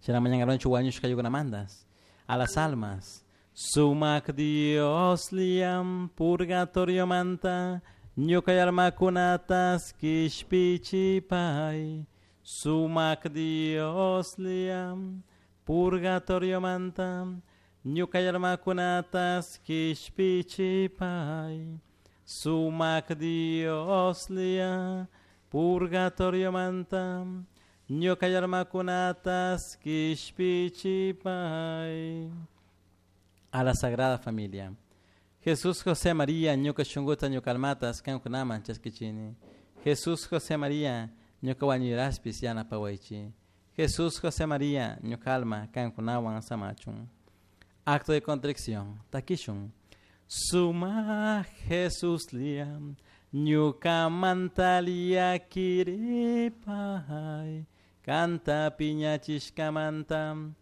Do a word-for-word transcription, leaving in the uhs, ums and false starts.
Shina mañangarunchik wañushka aylluykunamantas. A las almas. Sumak Diosllam purgatoriomanta ñuka almakunatas kishpichipay. Sumak Diosllam purgatoriomanta ñuka almakunatas kishpichipay. Sumak Diosllam purgatoriomanta ñuka almakunatas kishpichipay. A la Sagrada Familia. Jesús José María ñuka shunkuta ñuka almatas kankunaman chaskichini. Jesús José María ñuka wañuyraspis yanapawaychik. Jesús José María ñuka alma kankunawan samachun. Acto de contrición. Takishun. Suma Jesuslla ñukamanta llaquiripay. Kanta piñachishkamanta.